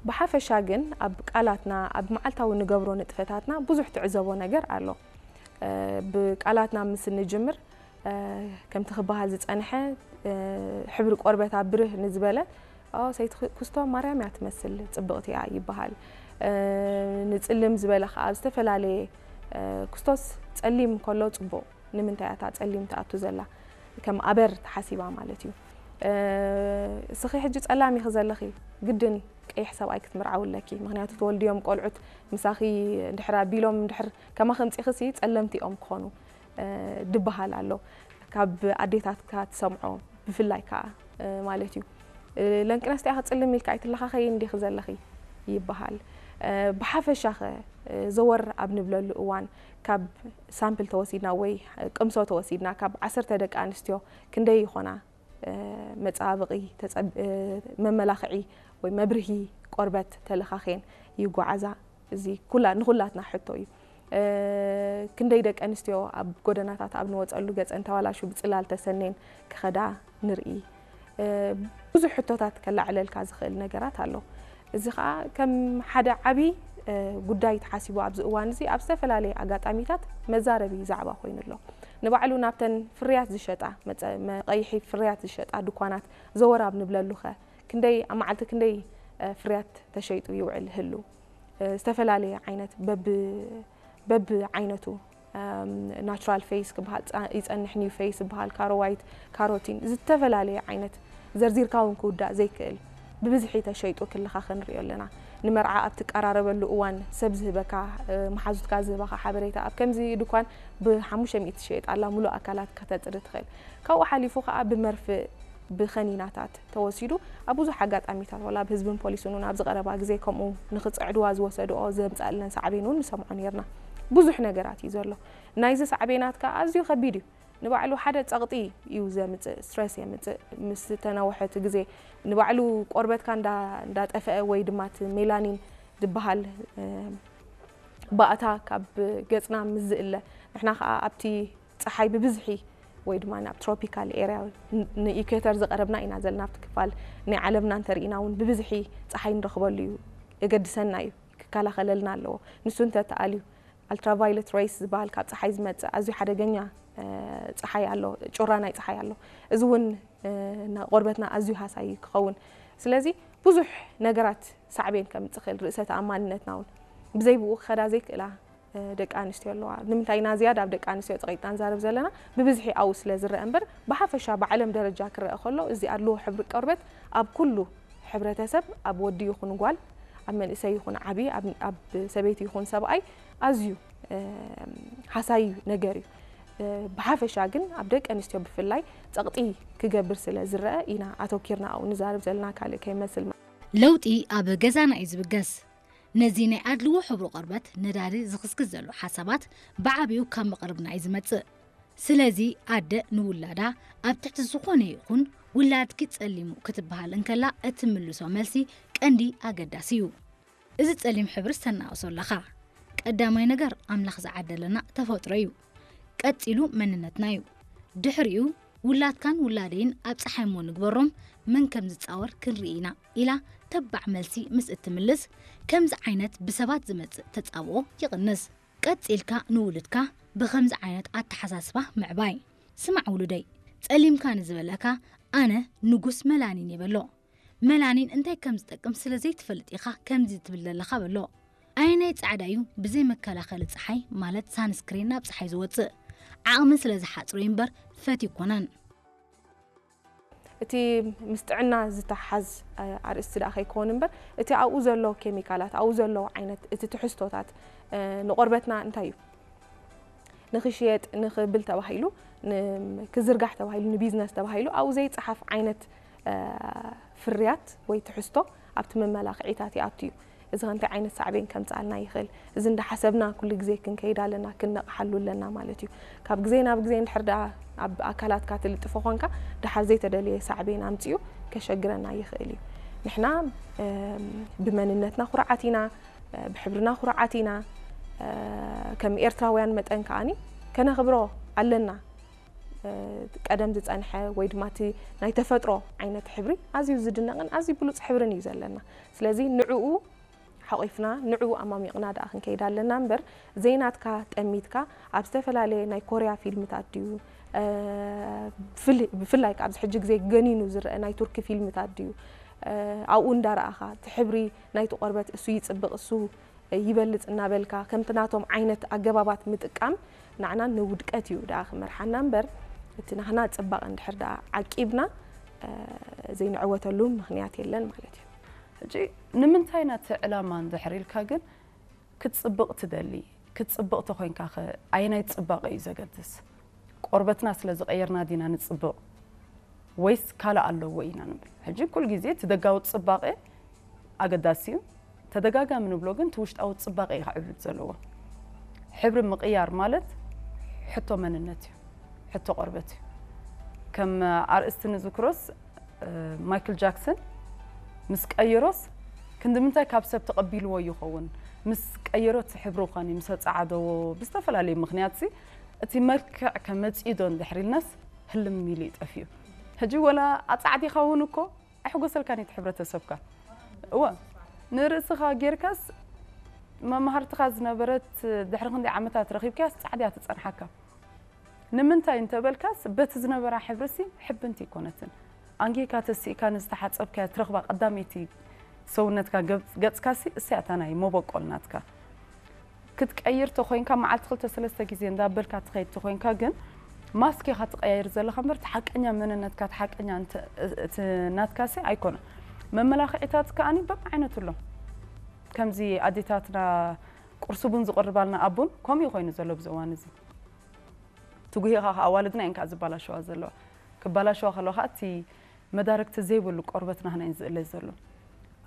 ብሓፈሻ ግን ኣብ ቃላትና፣ ኣብ መዓልታዊ ንገብሮ ንጥፈታትና ብዙሕ ትዕዘቦ ነገር ኣሎ። ብቃላትና ምስ እንጅምር ከምቲ ክበሃል ዝጸንሐ፣ ሕብሪ ቆርበታ ብርህ ንዝበለ ሰይቲ ኩስቶ ማርያም እያ ትመስል፣ ጽብቕቲ እያ ይበሃል። ንጽልም ዝበለ ከኣ ኣብ ዝተፈላለየ ኩስቶስ ጸሊም ከሎ ጽቡቕ፣ ንምንታይ እታ ጸሊም ትኣቱ ዘላ ከም ኣበር ተሓሲባ ማለት እዩ። እስኺ ሕጂ ጸላም ኢኺ ዘለኺ፣ ግድን ቀይሕ ሰብኣይ ክትምርዓዊ ኣለኪ፣ ምክንያቱ ትወልድዮም ቆልዑት ምሳኺ እንድሕር ኣቢሎም እንድሕር ከማኺ ኣምጺእኺሲ ጸለምቲ እዮም ክኾኑ ድበሃል ኣሎ። ካብ ኣዴታትካ ትሰምዖ ብፍላይ ከኣ ማለት እዩ። ለንቅነስቲ ኢኺ ጽልም ኢልካ ኣይትለኻኸይን ዲኺ ዘለኺ ይበሃል። ብሓፈሻኸ ዘወር ኣብ ንብለሉ እዋን ካብ ሳምፕል ተወሲድና ወይ ቅምሶ ተወሲድና ካብ ዓሰርተ ደቂ ኣንስትዮ ክንደይ ይኾና መጻባበቒ መመላኽዒ ወይ መብርሂ ቆርበት ተለኻኺየን ይጓዓዛ? እዚ ኩላ ንኹላትና ሕቶ እዩ። ክንደይ ደቂ ኣንስትዮ ኣብ ጎደናታት ኣብ ንወጸሉ ገጸን ተባላሹ ብጽላል ተሰኔን ክኸዳ ንርኢ። ብዙሕ ሕቶታት ከላዕለልካ ዝኽእል ነገራት ኣሎ። እዚ ኸኣ ከም ሓደ ዓቢ ጉዳይ ተሓሲቡ ኣብዚ እዋን እዚ ኣብ ዝተፈላለየ ኣጋጣሚታት መዛረቢ ዛዕባ ኮይኑ ኣሎ። ንባዕሉ ናብተን ፍርያት ዝሸጣ መጸ- መቐይሒ ፍርያት ዝሸጣ ድኳናት ዘወር ኣብ ንብለሉኸ ክንደይ ኣብ መዓልቲ ክንደይ ፍርያት ተሸይጡ ይውዕል ህሉ? ዝተፈላለየ ዓይነት በብ በብ ዓይነቱ ናቹራል ፌስ ክበሃል ይጸንሕ፣ ኒው ፌስ ዝበሃል፣ ካሮ ዋይት፣ ካሮቲን፣ ዝተፈላለየ ዓይነት ዘርዚርካ እውን ክውዳእ ዘይክእል ብብዝሒ ተሸይጡ ክልኻ ክንሪኦ ኣለና። ንመርዓ ኣብ ትቀራረበሉ እዋን ሰብ ዝህበካ፣ መሓዙትካ ዝህበኻ ሓበሬታ ኣብ ከምዚ ድኳን ብሓሙሽተ ሚእቲ ትሽየጥ ኣላ፣ ሙሉእ ኣካላት ከተጽሪ ትኽእል። ካብኡ ሓሊፉ ከኣ ብመርፍእ ብኸኒናታት ተወሲዱ ኣብ ብዙሕ ኣጋጣሚታት ዋላ ኣብ ህዝብን ፖሊስን እውን ኣብዚ ቀረባ ግዜ ከምኡ ንኽጽዕድዋ ዝወሰድኦ ዘምጻእለን ሳዕቤን እውን ንሰምዖ ነርና። ብዙሕ ነገራት እዩ ዘሎ። ናይዚ ሳዕቤናት ከኣ ኣዝዩ ከቢድ እዩ። ንባዕሉ ሓደ ጸቕጢ እዩ ዘምጽእ፣ ስትረስ የምጽእ። ምስ ተነውሐ እቲ ግዜ ንባዕሉ ቆርበትካ እንዳ እንዳጠፍአ ወይ ድማ እቲ ሜላኒን ዝበሃል ባእታ ካብ ገጽና ምስ ዝእለ ንሕና ከኣ ኣብቲ ጸሓይ ብብዝሒ ወይ ድማ ናብ ትሮፒካል ኤርያ ንኢኩዌተር ዝቐረብና ኢና ዘለና። ኣብቲ ክፋል ናይ ዓለምና እንተርኢና እውን ብብዝሒ ጸሓይ ንረኽበሉ እዩ፣ የገድሰና እዩ፣ ክከላኸለልና ኣለዎ። ንሱ እንተተኣልዩ ኣልትራቫይለት ሬይስ ዝበሃል ካብ ጸሓይ ዝመጽእ ኣዝዩ ሓደገኛ ጸሓይ ኣሎ፣ ጩራ ናይ ጸሓይ ኣሎ። እዚ እውን ንቆርበትና ኣዝዩ ሃሳዪ ክኸውን። ስለዚ ብዙሕ ነገራት ሳዕቤን ከምጽእ ክእል፣ ርእሰ ተኣማንነትና እውን ብዘይ ብኡ ክኸዳ ዘይክእላ ደቂ ኣንስትዮ ኣለዋ። ንምንታይ ኢና ዝያዳ ኣብ ደቂ ኣንስትዮ ጸቒጥና ንዛረብ ዘለና? ብብዝሒ ኣብኡ ስለ ዝረአ እምበር፣ ብሓፈሻ ብዓለም ደረጃ ክረአ ከሎ፣ እዚ ኣድልዎ ሕብሪ ቆርበት ኣብ ኩሉ ሕብረተሰብ፣ ኣብ ወዲ ይኹን ጓል፣ ኣብ መንእሰይ ይኹን ዓቢ፣ ኣብ ሰበይቲ ይኹን ሰብኣይ ኣዝዩ ሃሳዪ ነገር እዩ። ብሓፈሻ ግን ኣብ ደቂ ኣንስትዮ ብፍላይ ጸቕጢ ክገብር ስለ ዝረአ ኢና ኣተኪርና ኣብኡ ንዛረብ ዘለና፣ ካልእ ከይመስል። ለውጢ ኣብ ገዛና እዩ ዝብገስ። ነዚ ናይ ኣድልዎ ሕብሪ ቆርበት ነዳዲ ዝኽስክስ ዘሎ ሓሳባት ብዓቢኡ ካብ መቕርብና እዩ ዝመጽእ። ስለዚ ኣደ ንውላዳ ኣብ ትሕቲ ዝኾነ ይኹን ውላድኪ ጸሊሙ ክትበሃል እንከላ እትምልሶ መልሲ ቀንዲ ኣገዳሲ እዩ። እዚ ጸሊም ሕብሪ ዝተናእሶ ኣለኻ። ቀዳማይ ነገር ኣምላኽ ዝዓደለና ተፈጥሮ እዩ። ቀጺሉ መንነትና እዩ። ድሕሪኡ ውላድካን ውላደይን ኣብ ጸሓይ እሞ ንግበሮም መን ከም ዝጻወር ክንርኢ ኢና ኢላ ተባዕ መልሲ ምስ እትምልስ ከምዚ ዓይነት ብሰባት ዝመጽእ ተጻብኦ ይቕንስ። ቀጺልካ ንውሉድካ ብኸምዚ ዓይነት ኣተሓሳስባ ምዕባይ። ስማዕ ውሉደይ፣ ጸሊምካ ንዝበለካ ኣነ ንጉስ መላኒን እየ በሎ። መላኒን እንታይ ከም ዝጠቅም ስለ ዘይትፈልጥ ኢኻ ከምዚ ትብል ዘለኻ በሎ። ኣየናይ ጻዕዳ እዩ ብዘይ መከላኸሊ ጸሓይ ማለት ሳንስክሪን ናብ ጸሓይ ዝወጽእ? ዓቕሚ ስለ ዝሓጽሮ እዩ እምበር ፈትዩ ኣይኮነን። እቲ ምስ ጥዕና ዝተሓዝ ኣርእስቲ ደኣ ከይከውን እምበር እቲ ኣብኡ ዘሎ ኬሚካላት ኣብኡ ዘሎ ዓይነት እቲ ትሕዝቶታት ንቆርበትና እንታይ እዩ ንኽሽየጥ ንኽብል ተባሂሉ ክዝርጋሕ ተባሂሉ ንቢዝነስ ተባሂሉ ኣብኡ ዘይፀሓፍ ዓይነት ፍርያት ወይ ትሕዝቶ ኣብቲ መመላኽዒታት ይኣቱ እዩ። እዚ ከ እንታይ ዓይነት ሳዕቤን ከምፅኣልና ይኽእል? እዚ እንዳሓሰብና ኩሉ ግዜ ክንከይድ ኣለና፣ ክንነቕሓሉ ኣለና ማለት እዩ። ካብ ግዜ ናብ ግዜ እንድሕር ደኣ ኣብ ኣካላትካ ትልጥፎ ኾንካ ደሓር ዘይተደለየ ሳዕቤን ኣምፂኡ ከሸግረና ይኽእል እዩ። ንሕና ብመንነትና ኩርዓት ኢና፣ ብሕብርና ኩርዓት ኢና። ከም ኤርትራውያን መጠን ከኣኒ ከነኽብሮ ኣለና። ቀደም ዝጸንሐ ወይ ድማ እቲ ናይ ተፈጥሮ ዓይነት ሕብሪ ኣዝዩ ዝድነቕን ኣዝዩ ብሉጽ ሕብርን እዩ ዘለና። ስለዚ ንዕኡ ሓቒፍና ንዕኡ ኣማሚቕና ደኣ ክንከይድ ኣለና እምበር ዘይናትካ ጠሚትካ ኣብ ዝተፈላለየ ናይ ኮርያ ፊልምታት ድዩ ብፍላይ ኣብዚ ሕጂ ግዜ ገኒኑ ዝረአ ናይ ቱርኪ ፊልምታት ድዩ ኣብኡ እንዳረኣኻ እቲ ሕብሪ ናይቲ ቆርበት እሱ ይጽብቕ እሱ ይበልጽ እናበልካ ከምቲ ናቶም ዓይነት ኣገባባት ምጥቃም ንዓና ንውድቀት እዩ ደኣ ክመርሓና እምበር እቲ ናህና ጽባቐ እንድሕር ደኣ ዓቂብና ዘይንዕወተሉ ምኽንያት የለን ማለት እዩ። ሕጂ ንምንታይ ናቲ ዕላማ እንድሕር ኢልካ ግን ክትጽብቕ ትደሊ? ክትጽብቕ ተኾይንካ ኸ ኣየናይ ጽባቐ እዩ ዘገድስ? ቆርበትና ስለ ዝቐየርና ዲና ንጽብቕ ወይስ ካልእ ኣለዎ ኢና ንብል? ሕጂ ኩል ግዜ እቲ ደጋዊ ጽባቐ ኣገዳሲ እዩ። ተደጋጋሚ ንብሎ ግን እቲ ውሽጣዊ ጽባቐ እዩ ክዕብልብ ዘለዎ። ሕብሪ ምቕያር ማለት ሕቶ መንነት እዩ፣ ሕቶ ቆርበት እዩ። ከም ኣርእስቲ ንዝክሮስ ማይክል ጃክሰን ምስ ቀየሮስ ክንዲ ምንታይ ካብ ሰብ ተቐቢልዎ ይኸውን? ምስ ቀየሮ እቲ ሕብሩ ኸኒ ምስ ኣጸዓደዎ ብዝተፈላለየ ምኽንያት ሲ እቲ መልክዕ ከመጽኡ ዶ እንድሕር ኢልናስ ህልም ኢሉ እዩ ጠፊኡ። ሕጂ ወላ ኣጻዕዲኻ እውን እኮ ኣይሕጎሰልካን እዩ እቲ ሕብረተሰብካ። እወ ንርእስኻ ጌርካስ መማህርትኻ ዝነበረት ድሕሪ ክንደይ ዓመታት ረኺብካያስ ጻዕዳ እያ ትጸንሓካ። ንምንታይ እንተበልካስ በቲ ዝነበራ ሕብርሲ ሕብንቲ ኣይኮነትን። ኣንጊህካ ተሲእካ ንዝተሓጸብካያ ትረኽባ ቀዳመይቲ ሰውነትካ ገጽካሲ እሳያ እታ ናይ መበቆል ናትካ። ክትቀይር ተኾይንካ መዓልቲ ክልተ ሰለስተ ግዜ እንዳበልካ ትኸይድ ተኾይንካ ግን ማስክ ኢኻ ትቀያይር ዘለኻ እምበር እቲ ሓቀኛ መንነትካ እቲ ሓቀኛ እቲ ናትካሲ ኣይኮነን። መመላኽዒታት ከኣኒ በብዓይነቱ ኣሎ። ከምዚ ኣዴታትና ቁርሲ ቡን ዝቕርባልና ኣብ ቡን ከምኡ እዩ ኮይኑ ዘሎ ኣብዚ እዋን እዚ። ትጉሂኻ ከኣ ኣዋልድና እየን ከኣ ዝበላሸዋ ዘለዋ። ክበላሸዋ ከለዋ ከኣ እቲ መዳርግቲ ዘይብሉ ቆርበት ናህና እዩ ዝእለ ዘሎ።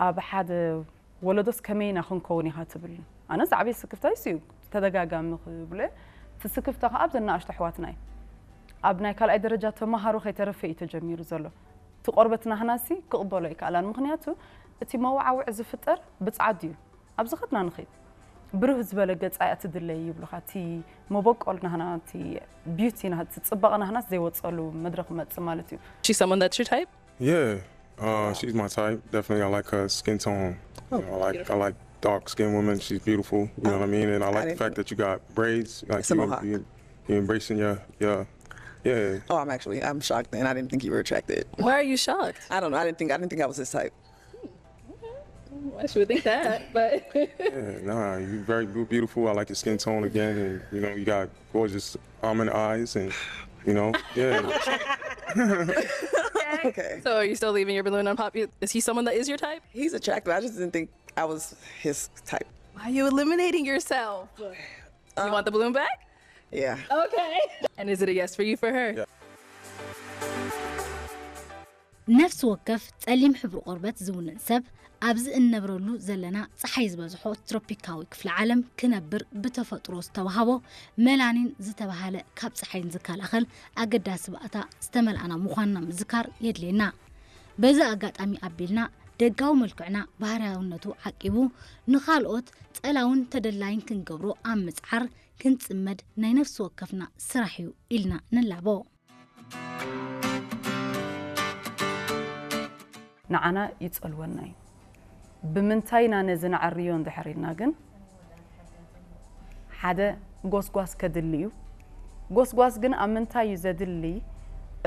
ኣብ ሓደ ወለዶስ ከመይ ኢና ክንከውን ኢኻ ትብል? ኣነስ ዓብየ ስክፍታይ እሱ እዩ ተደጋጋሚ ክብሎ እየ። እቲ ስክፍታ ከኣ ኣብዘን ንኣሽቱ ኣሕዋትና እዩ። ኣብ ናይ ካልኣይ ደረጃ ተማሃሮ ከይተረፈ እዩ ተጀሚሩ ዘሎ። እቲ ቆርበት ናህናሲ ክቕበሎ ኣይከኣላን። ምኽንያቱ እቲ መወዓውዒ ዝፍጠር ብጻዕዱ እዩ። ኣብ ዝኸድና ንኸይድ ብርህ ዝበለ ገጻ እያ ትድለይ ይብሉኻ። እቲ መበቆል ናህና፣ እቲ ቢዩቲ ናህና፣ እቲ ጽባቐ ናህናስ ዘይወጸሉ መድረኽ ይመጽእ ማለት እዩ። She's someone that's your type? Yeah, uh, she's my type. Definitely, I like her skin tone. You know, I like I like dark skinned women. She's beautiful. You know what I mean? And I like the fact that you got braids. Like It's a mohawk. You, you embracing your your yeah. Oh, I'm actually I'm shocked, and I didn't think you were attracted. Why are you shocked? I don't know. I didn't think I didn't think I was his type. I should think that, but Yeah, nah, you very beau- beautiful. I like your skin tone again, and you know you got gorgeous almond eyes, and you know yeah. Okay. So are you still leaving your balloon on pop? Is he someone that is your type? He's attractive. I just didn't think I was his type. Why are you eliminating yourself? You want the balloon back? Yeah. Okay. And is it a yes for you for her? Yeah. ነፍሲ ወከፍ ጸሊም ሕብሪ ቆርበት ዝውንን ሰብ ኣብዚ እንነብረሉ ዘለና ጸሓይ ዝበዝሖ ትሮፒካዊ ክፍለ ዓለም ክነብር ብተፈጥሮ ዝተዋህቦ መላኒን ዝተባህለ ካብ ጸሓይን ዝከላኸል ኣገዳሲ ባእታ ዝተመልኣና ምዃንና ምዝካር የድልየና። በዚ ኣጋጣሚ ኣቢልና ደጋዊ መልክዕና ባህርያውነቱ ዓቂቡ ንኻልኦት ጸላውን ተደላይን ክንገብሮ ኣብ ምጽዓር ክንጽመድ ናይ ነፍሲ ወከፍና ስራሕ እዩ ኢልና ንላቦ። ንዓና ይጸልወና እዩ። ብምንታይ ኢና ነዚ ንዓርዮ እንድሕር ኢልና ግን ሓደ ጎስጓስ ከድሊ እዩ። ጎስጓስ ግን ኣብ ምንታይ እዩ ዘድሊ?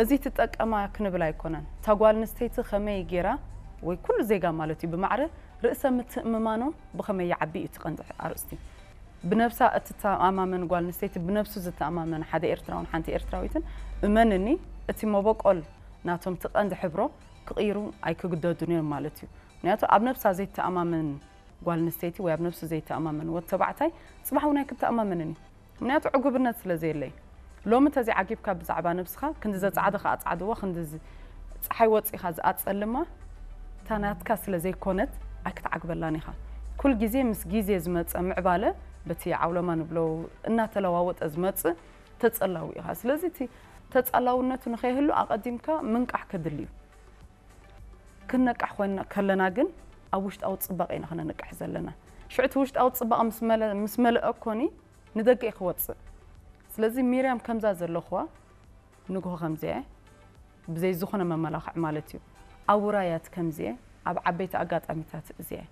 እዚ ትጠቀማ ክንብል ኣይኮነን። እታ ጓል ኣንስተይቲ ከመይ ገይራ ወይ ኩሉ ዜጋ ማለት እዩ ብማዕረ ርእሰ ምትእምማኖም ብኸመይ ይዓቢ እዩ እቲ ቀንዲ ኣርእስቲ። ብነብሳ እትተኣማመን ጓል ኣንስተይቲ ብነብሱ ዝተኣማመን ሓደ ኤርትራውን ሓንቲ ኤርትራዊትን እመንኒ እቲ መበቆል ናቶም እቲ ቀንዲ ሕብሮ ክቕይሩ ኣይክግደዱን እዮም ማለት እዩ። ምክንያቱ ኣብ ነብሳ ዘይተኣማመን ጓል ኣንስተይቲ ወይ ኣብ ነብሱ ዘይተኣማመን ወዲ ተባዕታይ ጽባሕ እውን ኣይክተኣማመንን እዩ። ምክንያቱ ዕጉብነት ስለ ዘየለይ ሎሚ ተዘይዓጊብካ ብዛዕባ ነብስኻ ክንዲ ዘጻዕድኻ ኣጻዕድዋ ክንዲ ዝ- ጸሓይ ወጺኻ ዝኣጸልማ እታ ናትካ ስለ ዘይኮነት ኣይክትዓግበላን ኢኻ። ኩል ግዜ ምስ ግዜ ዝመጸ ምዕባለ በቲ ዓውለማ ንብሎ እናተለዋወጠ ዝመጽእ ተጸላዊ ኢኻ። ስለዚ እቲ ተጸላውነቱ ንኸይህሉ ኣቐዲምካ ምንቃሕ ከድሊ እዩ። ክንነቅሕ ኮይና ከለና ግን ኣብ ውሽጣዊ ጽባቐ ኢና ክነንቅሕ ዘለና። ሽዑ እቲ ውሽጣዊ ጽባቐ ምስ መለ- ምስ መለአ ኮኒ ንደገ እዩ ክወጽእ። ስለዚ ሚርያም ከምዛ ዘለኽዋ ንግሆ ከምዚየ ብዘይ ዝኾነ መመላኽዕ ማለት እዩ ኣብ ውራያት ከምዚየ ኣብ ዓበይቲ ኣጋጣሚታት እዚየ